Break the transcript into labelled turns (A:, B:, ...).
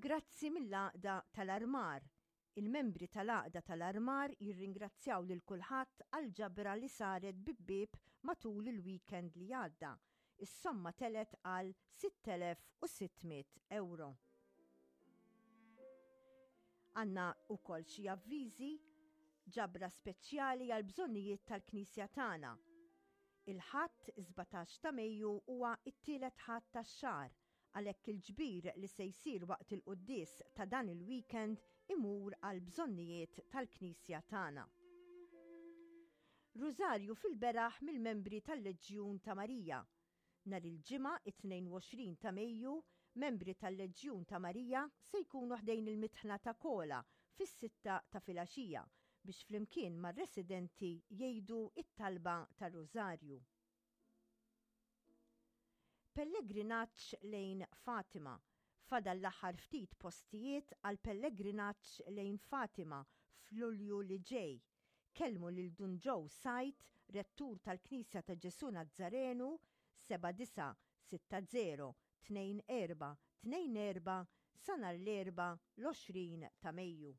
A: Grazzi mill-Għaqda tal-Armar. Il-membri tal-Għaqda tal-Armar jirringrazzjaw lil kulħadd għall-ġabra li saret bieb bieb matul il-weekend li għadda. Is-somma telgħet għal 6,600 ewro. Għandna wkoll xi avviżi, ġabra speċjali għall-bżonnijiet tal-Knisja tagħna. Il-Ħadd 17 ta' Mejju huwa t-tielet Ħadd tax-xahar, għalhekk il-ġbir li se jsir waqt il-quddies ta' dan il-weekend imur għall-bżonnijiet tal-Knisja tagħna. Rużarju fil-beraħ mill-membri tal-Leġjun ta' Marija. Nhar il-Ġimgħa it-22 ta' Mejju, membri tal-Leġjun ta' Marija se jkunu ħdejn il-Mitħna ta' Kola fis-sitta ta' filgħaxija biex flimkien mar-residenti jgħidu t-talba tar-Rużarju. Pellegrinaġġ lejn Fatima Fadal l-aħħar ftit postijiet għall-pellegrinaġġ lejn Fatima f'Lulju li ġej. Kellmu lil Dun Joe Said, Rettur tal-Knisja ta' Ġesù Nazzarenu, 7960 24 24 sa nhar l-Erbgħa l-20 ta' Mejju.